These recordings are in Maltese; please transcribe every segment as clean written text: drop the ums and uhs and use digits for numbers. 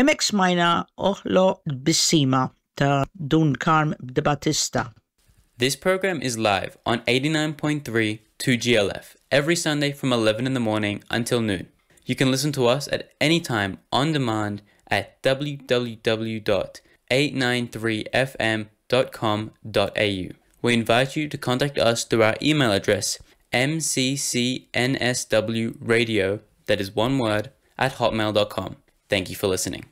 Hemmhekk smajna Oħloq Tbissima ta' Dun Karm Debattista. This program is live on 89.3 2GLF every Sunday from 11 in the morning until noon. You can listen to us at any time on demand at www.893fm.com.au. We invite you to contact us through our email address mccsnwradio, that is one word, at hotmail.com. Thank you for listening.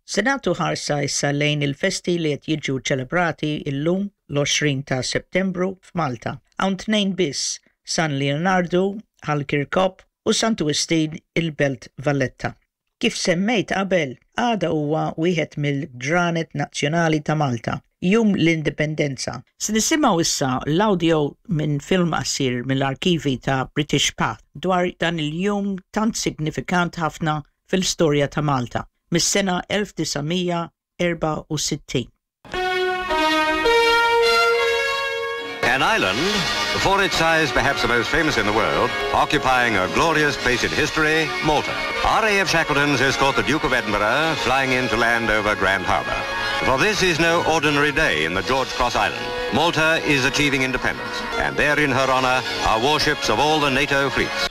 Se nagħtu ħarsa issa lejn il-festi li qed jiġu ċelebrati illum l-20 ta' Settembru f'Malta. Hawn tnejn biss, San Leonardu, Ħal Kirkop u Santu Wistin il-Belt Valletta. Kif semmejt qabel, għada huwa wieħed mill-ġranet nazzjonali ta' Malta, Jum l-Indipendenza. Se nisimgħu issa l-audio minn film qasir mill-arkivi ta' British Path dwar dan il-jum tant signifikant ħafna fil-istorja ta' Malta mis-sena 1964. An island, for its size perhaps the most famous in the world, occupying a glorious place in history, Malta. RAF Shackletons escort the Duke of Edinburgh, flying in to land over Grand Harbour. For this is no ordinary day in the George Cross Island. Malta is achieving independence, and there in her honor are warships of all the NATO fleets.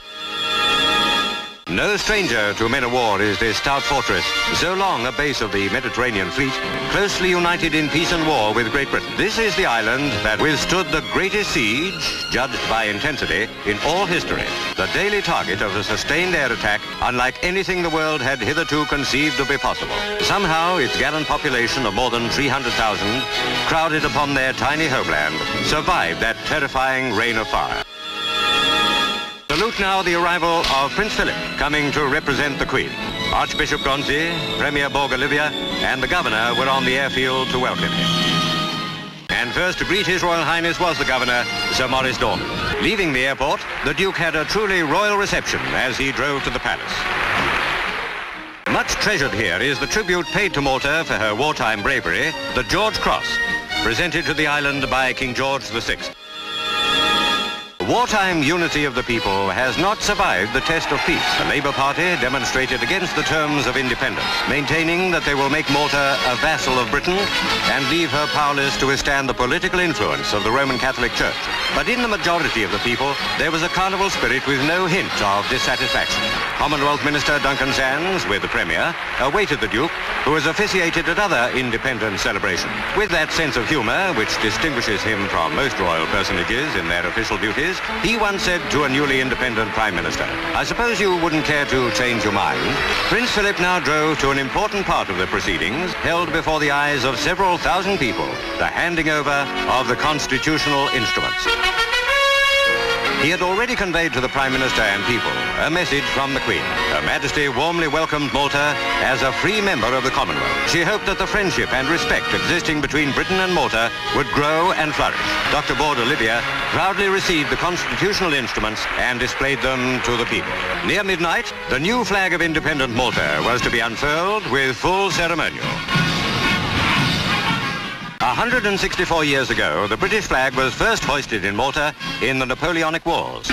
No stranger to men of war is this stout fortress, so long a base of the Mediterranean fleet, closely united in peace and war with Great Britain. This is the island that withstood the greatest siege, judged by intensity, in all history. The daily target of a sustained air attack unlike anything the world had hitherto conceived to be possible. Somehow, its gallant population of more than 300,000, crowded upon their tiny homeland, survived that terrifying rain of fire. Salute now the arrival of Prince Philip, coming to represent the Queen. Archbishop Gonzi, Premier Borg Olivier, and the Governor were on the airfield to welcome him. And first to greet His Royal Highness was the Governor, Sir Maurice Dorman. Leaving the airport, the Duke had a truly royal reception as he drove to the palace. Much treasured here is the tribute paid to Malta for her wartime bravery, the George Cross, presented to the island by King George VI. Wartime unity of the people has not survived the test of peace. The Labour Party demonstrated against the terms of independence, maintaining that they will make Malta a vassal of Britain and leave her powerless to withstand the political influence of the Roman Catholic Church. But in the majority of the people, there was a carnival spirit with no hint of dissatisfaction. Commonwealth Minister Duncan Sandys, with the Premier, awaited the Duke, who has officiated at other independence celebrations. With that sense of humour which distinguishes him from most royal personages in their official duties, he once said to a newly independent Prime Minister, I suppose you wouldn't care to change your mind. Prince Philip now drove to an important part of the proceedings, held before the eyes of several thousand people, the handing over of the constitutional instruments. He had already conveyed to the Prime Minister and people a message from the Queen. Her Majesty warmly welcomed Malta as a free member of the Commonwealth. She hoped that the friendship and respect existing between Britain and Malta would grow and flourish. Dr. Borg Olivier proudly received the constitutional instruments and displayed them to the people. Near midnight, the new flag of independent Malta was to be unfurled with full ceremonial. 164 years ago, the British flag was first hoisted in Malta in the Napoleonic Wars.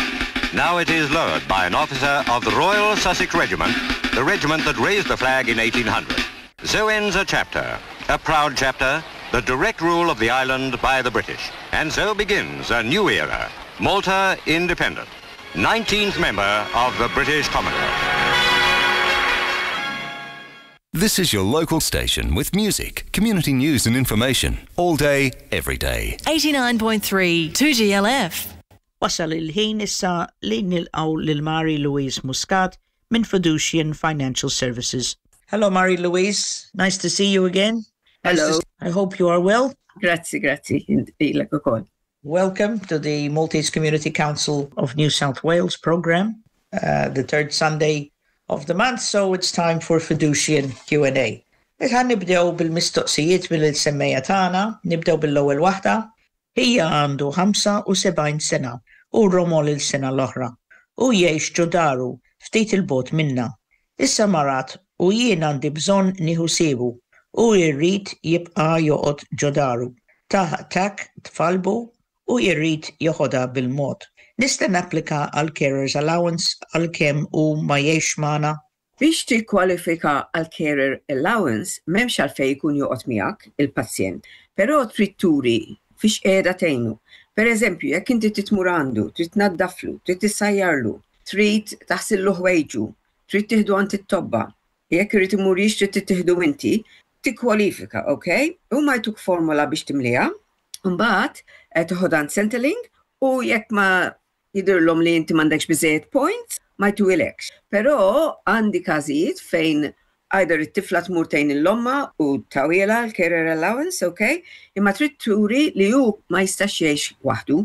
Now it is lowered by an officer of the Royal Sussex Regiment, the regiment that raised the flag in 1800. So ends a chapter, a proud chapter, the direct rule of the island by the British. And so begins a new era, Malta independent, 19th member of the British Commonwealth. This is your local station with music, community news and information all day, every day. 89.3 2GLF. Wasal il-ħin issa li nilqgħu lil Mary Louise Muscat minn Fiducian Financial Services. Hello Mary Louise, nice to see you again. Hello. Nice to, I hope you are well. Grazzi, grazzi, lilek ukoll. Welcome to the Maltese Community Council of New South Wales program, uh, the third Sunday of the month, so it's time for Fiducian Q&A. Ħa nibdew bil-mistoqsijiet mill-semmiegħa tagħna, nibdew bil-ewwel waħda. Ħija għandu 75 sena u romol il-sena l-oħra. U jgħix ġo daru ftit 'il bogħod minna. Issa marad u jien għandi bżonn nieħu ħsiebu u jrid jibqa' joqgħod ġo daru. Tah attack f'qalbu u jrid joħodha bil-mod. Nista' napplika għal carers allowance għalkemm hu ma jgħix magħna? Biex tikkwalifika għal carer allowance m'hemmx għalfejn ikun joqgħod miegħek il-pazjent, però trid turi fiex qiegħda tgħinu. Per eżempju, jekk inti trid tmur għandu, trid tnaddaflu, trid issajjarlu, trid taħsillu ħwejġu, trid tieħdu għand it-tobba, jekk irid imur jixtri trid tieħdu inti, tikkwalifika, ok? Huma jtuk formola biex timliha, mbagħad toħodha għand Centrelink u jekk ma jidhirlhom li inti m'għandekx biżżejjed points, ma jtuhilekx. Però għandi każijiet fejn either it-tifla tmur tgħin lil ommha u tawhielha l-carer allowance, ok? Imma trid turi li hu ma jistax jgħix waħdu,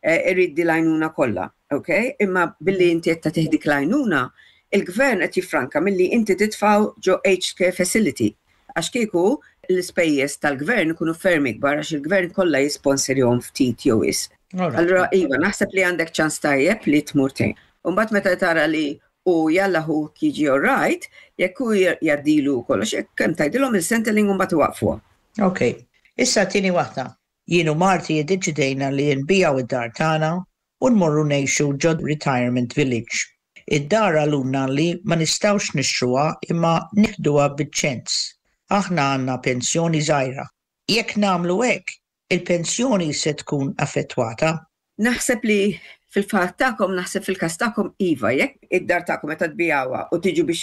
irid di l-għajnuna kollha, ok? Imma billi inti qed tagħtih dik l-għajnuna, il-gvern qed jiffranka milli inti titfgħu ġo aged care facility. Għax kieku l-ispejjeż tal-gvern ikunu ferm ikbar għax il-gvern kollha jisponsorjhom ftit jew wisq. Allura iva, naħseb li għandek ċans tajjeb li tmur tgħin. U mbagħad meta tara li u jalla hu jiġi all right, jekk hu jgħaddilu kollox, jekk kemm tgħidilhom il-Centrelink u mbagħad iwaqfuha. Ok. Issa tieni waħda. Jien u marti iddeċidejna li nbigħu id-dar tagħna u nmorru ngħixu ġo retirement village. Id-dar qalulna li ma nistgħux nixtruha imma nieħduha biċ-ċens. Aħna għandna pensjoni żgħira. Jekk nagħmlu hekk, il-pensjoni se tkun affettwata? Naħseb li fil-fatt tagħkom, naħseb fil-każ tagħkom iva, jekk id-dar tagħkom meta tbigħuha u tiġu biex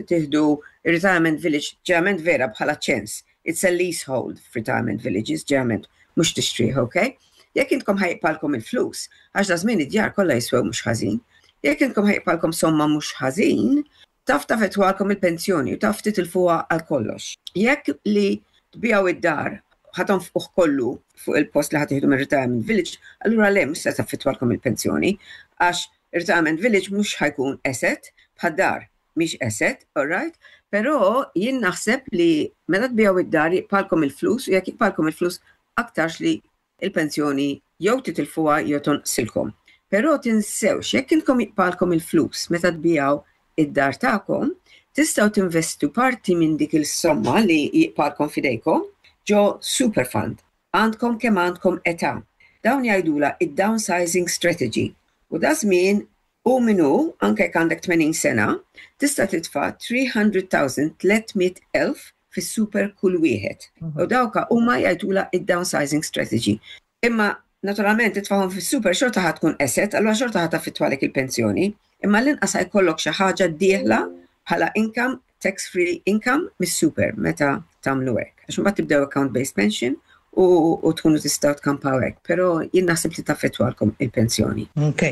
tieħdu retirement village, ġeneralment vera bħala ċens. It's a leasehold retirement villages, ġeneralment mhux tixtrih, ok? Jekk intkom ħa jibqagħlkom il-flus, għax da żmien id-djar kollha jiswew mhux ħażin. Jekk intkom ħa jibqagħlkom somma mhux ħażin, taf taffettwalkom il-pensjoni u taf titilfuha għal kollox. Jekk li tbigħu id-dar ħa tonfquh kollu fuq il-post li ħa tieħdu minn retirement village, allura le mhux se taffettwalkom il-pensjoni għax retirement village mhux ħa jkun asset bħad-dar mhix asset, all right? Però jien naħseb li meta tbigħu id-dar jibqagħlkom il-flus u jekk jibqagħlkom il-flus aktarx li il-pensjoni jew titilfuha jew tonqsilkom. Però tinsewx jekk intkom jibqagħlkom il-flus meta tbigħu id-dar tagħkom, tistgħu tinvestu parti minn dik il-somma li jibqagħlkom f'idejkom ġo super fund. Għandkom kemm għandkom età. Dawn jgħidula id-downsizing strategy. U da żmien u minnu, anke jekk għandek 80 sena, tista' titfa' 300,000 300,000 fis-super kull wieħed. U dawka huma jgħidula id-downsizing strategy. Imma naturalment titfagħhom fis-super xorta ħa tkun asset, allura xorta ħa taffettwalek il-pensjoni. Imma l-inqas ħa jkollok xi ħaġa dieħla bħala income, tax free income mis-super meta tagħmlu hekk. Għax imbagħad tibdew account based pension u, u tkunu tistgħu tkampaw hekk, però jien naħseb li taffettwalkom il-pensjoni. Ok.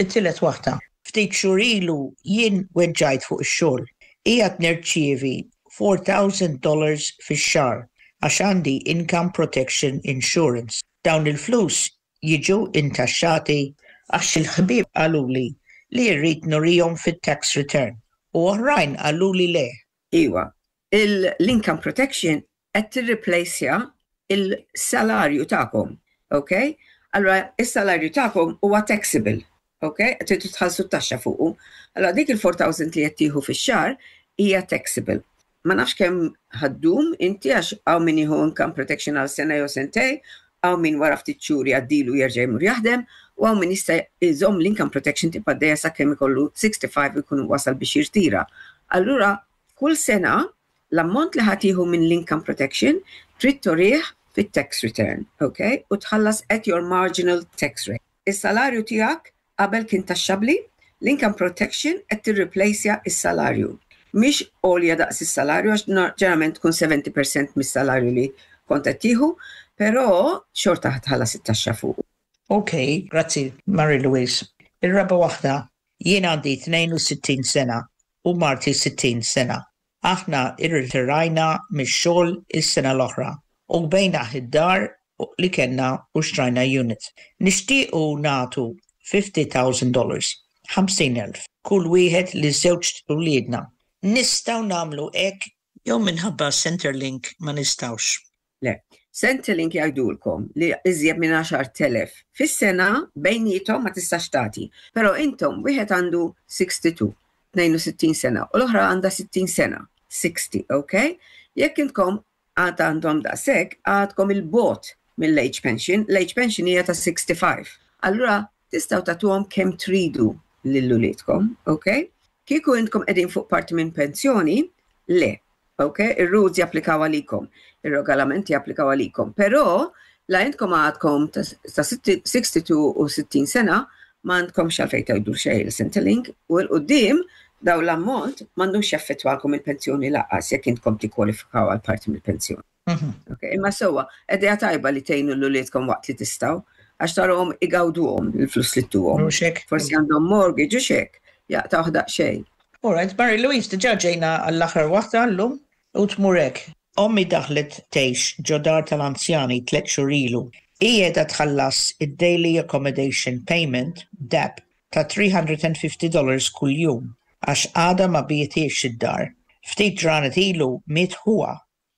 It-tielet waħda. Ftit xhur ilu jien weġġajt fuq ix-xogħol. Qiegħed nirċievi $4,000 fix-xahar għax għandi income protection insurance. Dawn il-flus jiġu intaxxati għax il-ħbieb qaluli li rrid nurihom fit-tax return u oħrajn qaluli le. Iwa, l-income protection qed tirreplaceja il-salarju tagħkom, ok? Allura, is-salarju tagħkom huwa taxable, ok? Tridu tħallsu t-taxxa fuqu. Allura dik il-4,000 li qed tieħu fix-xahar hija taxable. Ma nafx kemm ħa ddum inti għax hawn min jieħu income protection għal sena jew sentej, hawn min wara ftit xhur jgħaddilu jerġa' jmur jaħdem, u hawn min jista' jżomm l-income protection tibqa' għaddejja sakemm ikollu 65 u jkun wasal biex jirtira. Allura kull sena l-ammont li ħa tieħu minn l-income protection trid turih fit-tax return, ok? U tħallas at your marginal tax rate. Is-salarju tiegħek qabel kien taxxabli, l-income protection qed tirreplaceja is-salarju. Mhix għolja daqs is-salarju għax ġeneralment tkun 70% mis-salarju li kont qed tieħu, però xorta tħallas it-taxxa fuq. Ok, grazzi Mary Louise. Ir-raba waħda, jien għandi 62 sena u marti 60 sena. Aħna irritirajna mix-xogħol is-sena l-oħra u bigħna id-dar li kellna u xtrajna unit. Nixtiequ nagħtu $50,000, 50,000, kull wieħed li żewġ uliedna. Nistgħu nagħmlu hekk jew minħabba Centrelink ma nistgħux. Le, Centrelink jgħidulkom li iżjed minn 10,000 fis-sena bejniethom ma tistax tagħti. Però intom wieħed għandu 62, 62 sena u l-oħra għandha 60 sena, 60, ok? Jekk intkom għad għandhom daqshekk, għadkom 'il bogħod mill-age pension, l-age pension hija ta' 65. Allura tistgħu tagħtuhom kemm tridu lil uliedkom, ok? Kieku intkom qegħdin fuq parti minn pensjoni, le. Ok, ir-rules japplikaw għalikom, ir-regolamenti japplikaw għalikom, però la intkom għadkom ta' 62 u 60 sena ma għandkomx għalfejn tgħidu xejn il-Centrelink u 'l quddiem daw l-ammont m'għandux jaffettwalkom il-pensjoni lanqas jekk intkom tikkwalifikaw għal parti mill-pensjoni. Okay, imma sewwa, idea tajba li tgħinu 'l uliedkom waqt li tistgħu, għax tarahom igawduhom il-flus li ttuhom. Forsi għandhom mortgage u x'hekk, jaqtgħuh daqsxejn. All right, Mary Louise, diġà ġejna għall-aħħar waħda llum u tmur hekk. Ommi daħlet tgħix ġo dar tal-anzjani tlett xhur ilu. Hi qiegħda tħallas id-Daily Accommodation Payment, DAP, ta' $350 kuljum għax għadha ma biegħtiex id-dar. Ftit ġranet ilu miet ħuha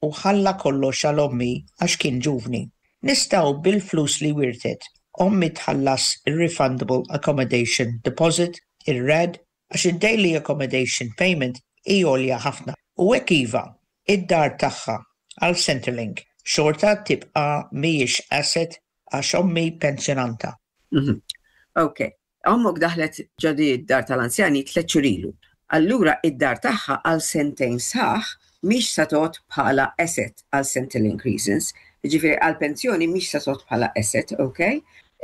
u ħalla kollox għal ommi għax kien ġuvni. Nistgħu bil-flus li wirtet ommi tħallas ir-Refundable Accommodation Deposit, ir-RAD, għax id-Daily Accommodation Payment hi għolja ħafna. U hekk iva, id-dar tagħha għal Centrelink xorta tibqa' mhijiex asset għax ommi pensjonanta. Ok. Ommok daħlet ġo di d-dar tal-anzjani tlett xhur ilu. Allura id-dar tagħha għal sentejn sħaħ mhix sa tgħodd bħala asset għal Centrelink reasons. Jiġifieri għall-pensjoni mhix sa tgħodd bħala asset, ok?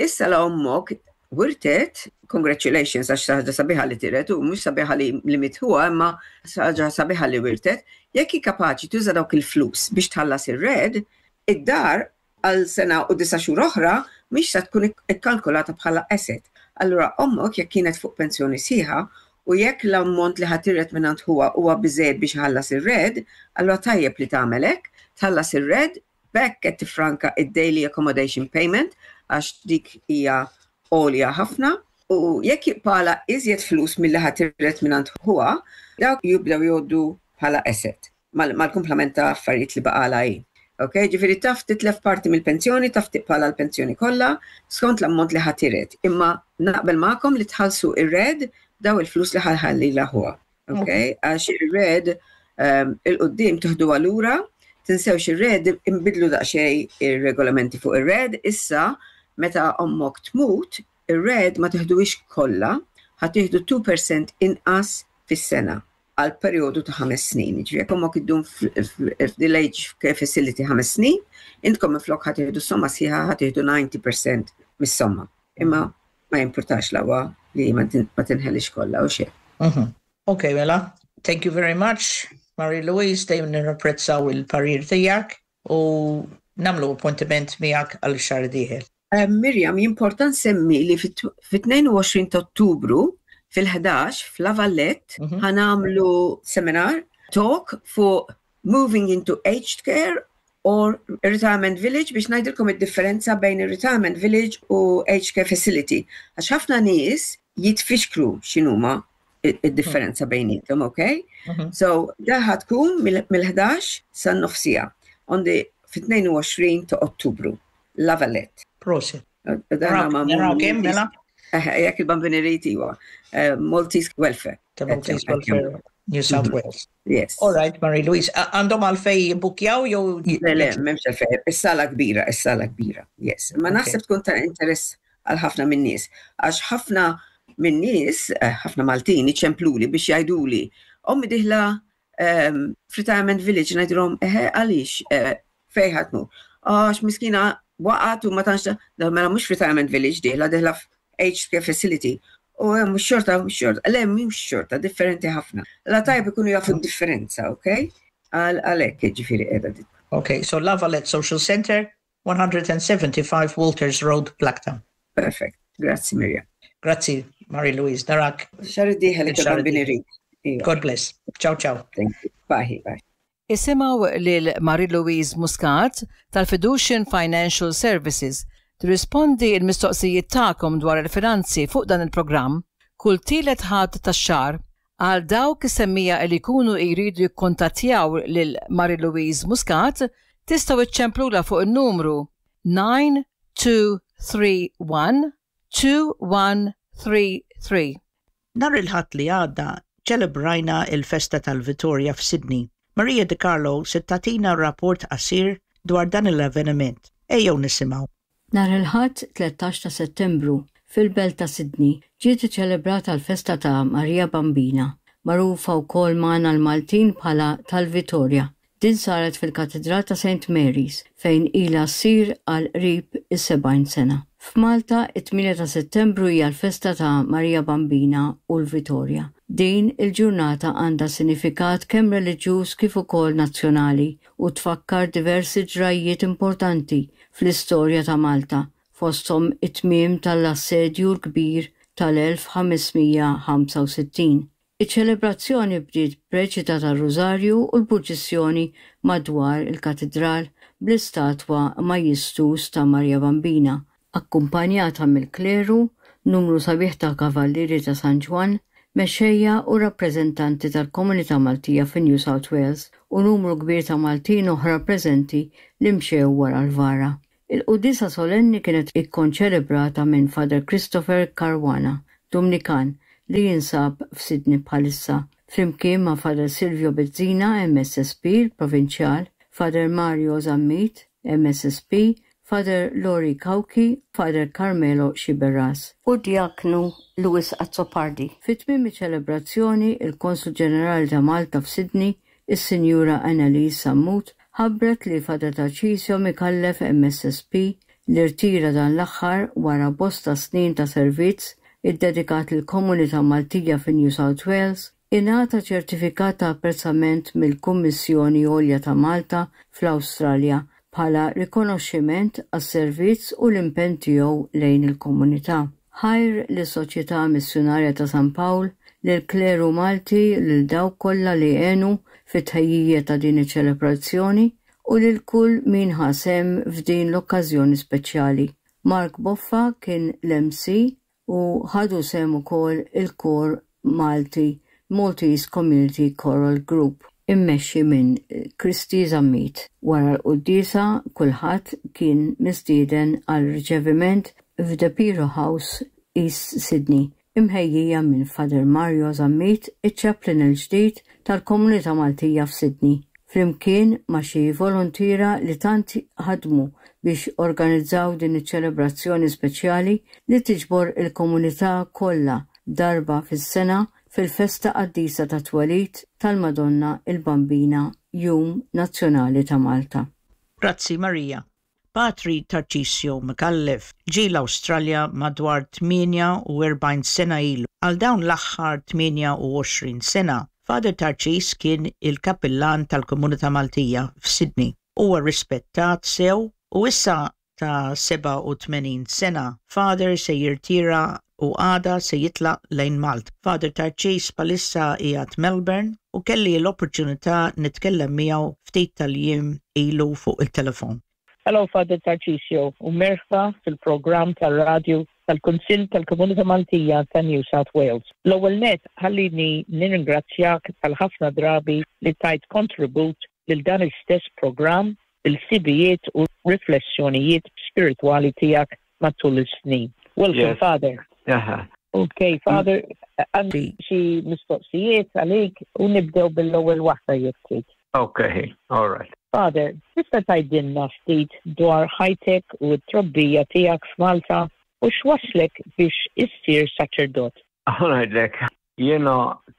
Issa la ommok wirtet, congratulations għax xi ħaġa sabiħa li tiret u mhux sabiħa li li miet ħuha imma xi ħaġa sabiħa li wirtet, jekk hi kapaċi tuża dawk il-flus biex tħallas ir-RED, id-dar għal sena u disa' xhur oħra mhix se tkun ikkalkulata bħala asset. Allura ommok jekk kienet fuq pensjoni sħiħa u jekk l-ammont li ħa tiret mingħand ħuha huwa biżżejjed biex iħallas ir-RED, allura tajjeb li tagħmel hekk, tħallas ir-RED, b'hekk qed tiffranka id-daily accommodation payment għax dik hija għolja ħafna u jekk jibqagħlha iżjed flus milli ħa tiret mingħand ħuha, dawk jibdew jgħoddu bħala asset. mal-kumplament ta' affarijiet li baqgħalha hi. Ok, ġifieri taf titlef parti mill-pensjoni, taf tibqgħalha l-pensjoni kollha, skont l-ammont li ħa tiret. Imma naqbel magħkom li tħallsu ir-RED daw il-flus li ħa jħallilha ħuha. Ok, għax ir-RED ehm, il-qudiem tuħduha lura, tinsewx ir-RED inbidlu daqsxejn ir-regolamenti fuq ir-RED, issa meta ommok tmut, ir-RED ma teħduhiex kollha, ħa tieħdu 2% inqas fis-sena. għal perjodu ta' ħames snin. Jiġifieri jekk ommok iddum f'dil-age care facility ħames snin, intkom minflok ħa tieħdu s-somma sħiħa ħa tieħdu 90% mis-somma. Imma ma jimpurtax l-aqwa li ma tinħelix kollha u xejn. Mhm. Ok, mela. Thank you very much, Marie Louise, dejjem nirrapprezzaw il-parir tiegħek u nagħmlu appuntiment miegħek għal xahar dieħel. Miriam, jimporta nsemmi li fit-22 ta' Ottubru fil-11 f'La Vallette mhm. ħa nagħmlu seminar talk fuq moving into aged care or retirement village biex ngħidilkom id-differenza bejn ir-retirement village u aged care facility. Għax ħafna nies jitfixklu x'inhuma id-differenza bejnietom, ok? Mhm. So, da tkun mill-11 san-nofsija on the fit-22 ta' Ottubru. La Valette. Prosit. Naraw kemm mela? Jekk il-bambini rrit iwa. Eh, Maltese Welfare. Ta' Maltese Welfare. New South mhm. Wales. Yes. All right, Marie Louise. Għandhom għalfej jibbukjaw jew? Le, le, memx għalfej. Is-sala kbira, is-sala kbira. Yes. Ma naħseb tkun ta' interess għal ħafna minn nies. Għax ħafna minn nies, eh, ħafna Maltin iċempluli biex jgħiduli, ommi diħla ehm, f'retirement village ngħidilhom eħe għaliex eh, fejn ħa tmur. Għax miskina waqgħet u ma tantx mela mhux retirement village dieħla dieħla aged care facility. U eh, mhux xorta, mhux xorta, le mhux xorta, differenti ħafna. La tajb ikunu jafu d-differenza, ok? Għalhekk ġifieri qiegħda dik. Ok, so La Valette Social Center, 175 Walters Road, Blacktown. Perfect. Grazzi Mirjam. Grazzi Marie Louise. Narak. Xahar id-dieħel il-bambini rid. God bless. Ciao ciao. Thank you. Bye bye. Isimgħu lil Marie Louise Muscat tal-Fiducian Financial Services tirrispondi l-mistoqsijiet tagħkom dwar il-finanzi fuq dan il-programm kull tielet Ħadd tax-xahar Għal dawk is-semmiegħa li jkunu jridu jikkuntattjaw lil Marie Louise Muscat, tistgħu iċċemplulha fuq in-numru 9231 2133. Nhar il-Ħadd li għadda ċċelebrajna l-festa tal-Vitorja f'Sydney. Maria De Carlo se tagħtina rapport qasir dwar dan l-avveniment. Ejjew nisimgħu. Nhar il-Ħadd 13 ta' Settembru, fil-belt ta' Sydney, ġiet iċċelebrata l-festa ta' Marija Bambina. magħrufa wkoll magħna l-Maltin bħala tal-Vitorja. Din saret fil-Katidral ta' Saint Mary's, fejn ilha ssir għal qrib is-70 sena. F'Malta, it-tmienja ta' Settembru hija l-festa ta' Marija Bambina u l-Vitorja. Din il-ġurnata għandha sinifikat kemm reliġjuż kif ukoll nazzjonali u tfakkar diversi ġrajjiet importanti fl-istorja ta' Malta, fosthom it-tmiem tal-Assedju l-Kbir tal-1565. Iċ-ċelebrazzjoni bdiet b'reċita tar-Rużarju u l-purċissjoni madwar il-Katidral bl-istatwa majjistus ta' Marja Bambina, akkumpanjata mill-kleru, numru sabiħ ta' Kavallieri ta' San Ġwann, mexxejja u rappreżentanti tal-komunità Maltija fi New South Wales u numru kbir ta' Maltin oħra preżenti li mxew wara l-vara. Il-quddiesa solenni kienet ikkonċelebrata minn Father Christopher Caruana, Dumnikan, li jinsab f'Sydney bħalissa, flimkien ma' Father Silvio Bezzina, MSSP, il-Provinċjal, Father Mario Zammit, MSSP, Father Lori Cauchi, Father Carmelo Sciberras, u d-Djaknu Louis Azzopardi. Fi tmiem iċ-ċelebrazzjoni, il-Konsul Ġenerali ta' Malta f'Sydney, Is-Sinjura Annalise Sammut ħabbret li Father Tarcisio Micallef MSSP, li rtira dan l-aħħar wara bosta snin ta' servizz iddedikat lill-komunità Maltija fi New South Wales, ingħata ċertifikat ta' apprezzament mill-Kummissjoni Għolja ta' Malta fl-Awstralja bħala rikonoxximent għas-servizz u l-impenn tiegħu lejn il-komunità. Ħajr lis-Soċjetà Missjunarja ta' San Pawl, lill-kleru Malti, lil dawk kollha li għenu fit-tħejjija ta' din iċ-ċelebrazzjoni u lil kull min ħa sehem f'din l-okkażjoni speċjali. Mark Boffa kien l-MC u ħadu sehem ukoll il-kor Malti Maltese Community Choral Group immexxi minn Kristy Zammit. Wara l-quddiesa kulħadd kien mistieden għal riċeviment f'The Piro House, East Sydney, imħejjija minn Father Mario Zammit, iċ-chaplain il-ġdid tal-komunità Maltija f'Sydney, flimkien ma' xi voluntiera li tant ħadmu biex organizzaw din iċ-ċelebrazzjoni speċjali li tiġbor il-komunità kollha darba fis-sena fil-festa qaddisa tat-twelid tal-Madonna il-Bambina, Jum Nazzjonali ta' Malta. Grazzi Maria. Patri Tarcisio Micallef ġie l-Awstralja madwar 48 sena ilu. Għal dawn l-aħħar 28 sena, Father Tarcis kien il-kappillan tal-komunità Maltija f'Sydney. Huwa rispettat sew u issa ta' 87 sena, Father se jirtira u għada se jitlaq lejn Malta. Father Tarcis bħalissa qiegħed Melbourne u kelli l-opportunità nitkellem miegħu ftit tal-jiem ilu fuq il-telefon. Hello Father Tarcisio u merħba fil-programm tar-radju tal-Kunsill tal-Komunità Maltija ta' New South Wales. L-ewwel nett ħallini nirringrazzjak tal-ħafna drabi li tajt kontribut lil dan l-istess programm bil-ħsibijiet u riflessjonijiet spiritwali tiegħek matul is-snin. Welcome, yes. Father. Aha. Okay, Father, għandi xi mistoqsijiet għalik u nibdew bil-ewwel waħda jekk trid. Okay, all right. Father, tista' tgħidilna ftit dwar ħajtek u t-trobbija tiegħek f'Malta u x'wasslek biex issir saċerdot? Ħa ngħidlek, jiena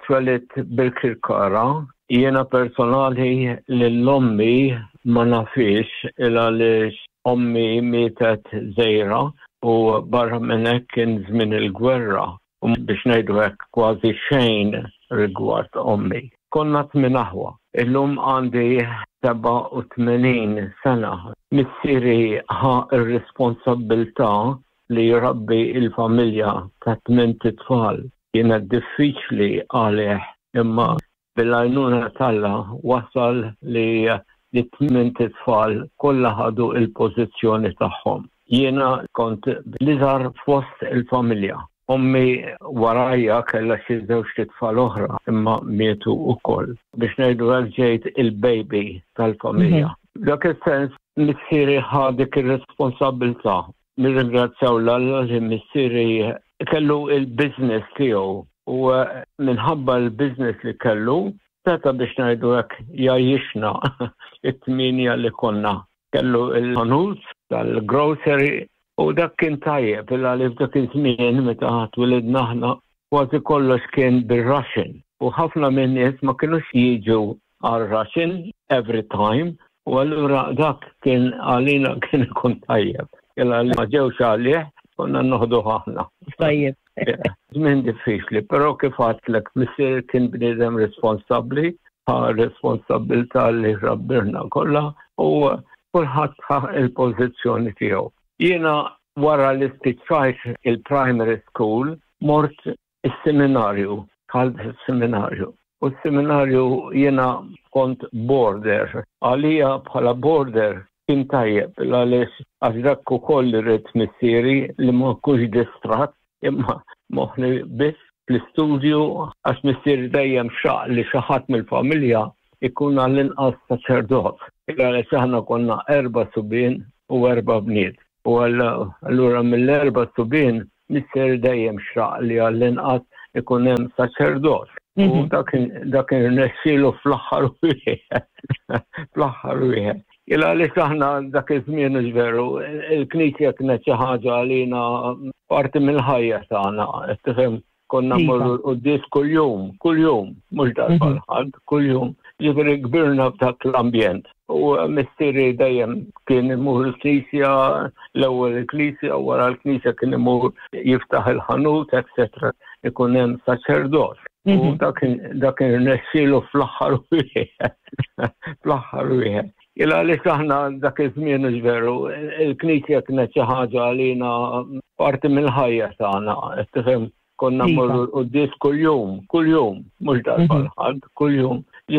twelidt Birkirkara, jiena personali lil ommi ma nafhiex il għaliex ommi mietet żgħira u barra minn hekk kien żmien il-gwerra u biex ngħidu hekk kważi xejn rigward ommi. Konna tmien aħwa. Illum għandi 87 sena. Missieri ħa r-responsabbiltà li jrabbi l-familja ta' tmint itfal. Kienet diffiċli għalih imma bil-għajnuna t'Alla wasal li t-tmint itfal kollha ħadu l-pożizzjoni tagħhom. Jiena kont l-iżgħar fost il-familja. Ommi warajja kellha xi żewġt itfal oħra imma mietu wkoll. Biex ngħidu hekk ġejt il-baby tal-familja. F'dak is-sens missieri ħa dik ir-responsabbiltà. Nirringrazzjaw 'l Alla li missieri kellu l-business tiegħu u minħabba l-business li kellu seta' biex ngħidu hekk jgħajjixna it-tmienja li konna. Kellu l-ħanut tal-grocery u dak kien tajjeb il għaliex dak iż-żmien meta twilidna aħna kważi kollox kien bir-ration. U ħafna minn nies ma kinux jiġu għal ration every time u allura dak kien għalina kien ikun tajjeb. Illa li ma ġewx għalih konna noħdu aħna. Tajjeb. Żmien diffiċli, però kif għadtlek missier kien bniedem responsabbli, ħa responsabbiltà li rabbirna kollha u kulħadd ħa il-pożizzjoni tiegħu. Jiena wara li spiċċajt il-primary school mort is-seminarju, dħalt is-seminarju. U s-seminarju jiena kont boarder. Għalija bħala boarder kien tajjeb għaliex għax dak ukoll li ried missieri li ma nkunx distratt imma moħħni biss fl-istudju għax missieri dejjem xaq li xi ħadd mill-familja ikun għall-inqas saċerdot. Għaliex aħna konna erba' subien u erba' bniet. U allura mill-erba' subien missieri dejjem xaq li għall-inqas ikun hemm saċerdot. U mhm. dak irnexxielu fl-aħħar wieħed. Fl-aħħar wieħed. Il għaliex aħna dak iż-żmien veru, il-Knisja kienet xi ħaġa għalina parti mill-ħajja tagħna, tifhem konna iva. morru l-quddies kuljum, kuljum, mhux darba mhm. l-ħadd, kuljum. Ġifieri kbirna f'dak l-ambjent. U missieri dejjem kien imur il-knisja, l-ewwel il-knisja, wara l-knisja kien imur jiftaħ il-ħanut, etc. Ikun hemm saċerdot. U mhm. dak irnexxielu fl-aħħar wieħed. Fl-aħħar wieħed. Il għaliex aħna dak iż-żmien veru, il-knisja kienet xi ħaġa għalina parti mill-ħajja tagħna, tifhem konna iva. morru l-quddies kuljum, kuljum, mhux darba mhm. l-ħadd, kuljum.